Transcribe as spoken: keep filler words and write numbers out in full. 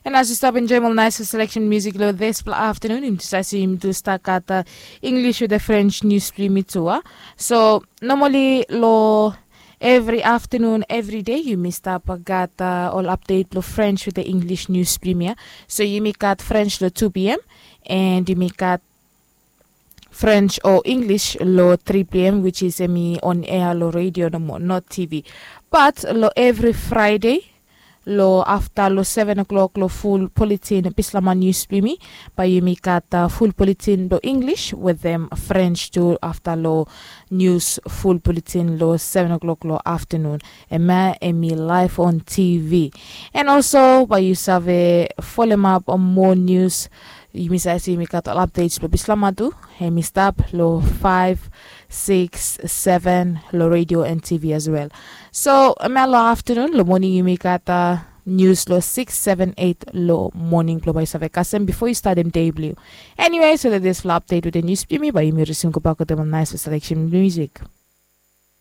And as yu stap enjoim ol nais seleksen musik long dispela aftanun, yumi tu save si yumi tu stap gat English wetem French nius blong yumi tu a. So nomali long evri aftanun evri dei yumi stap gat ol update long French wetem English nius blong yumi ya. So yumi gat French long two p.m. And yumi gat French o English long three p.m., which is em i on air long radio nomo, not T V. But long evri Friday, long afta long seven o'clock long full bulletin Bislama News blong yumi, bae yumi gat full bulletin long English wetem French tu afta long news full bulletin long seven o'clock long aftanun. Em ya em i live on T V. And also bae yu save folem ap moa news. Yumi save se yumi gat ol updates long Bislama tu. Em i stap long five, six, seven long radio and T V as well. So em ya long aftanun, long moning yumi gat news long six, seven, eight long moning blong bae yu save kasem bifo yu statem dei blong yu. Anyway, so that dispela update wetem news blong yumi, bae yumi risim go bak wetem ol nais seleksen musik.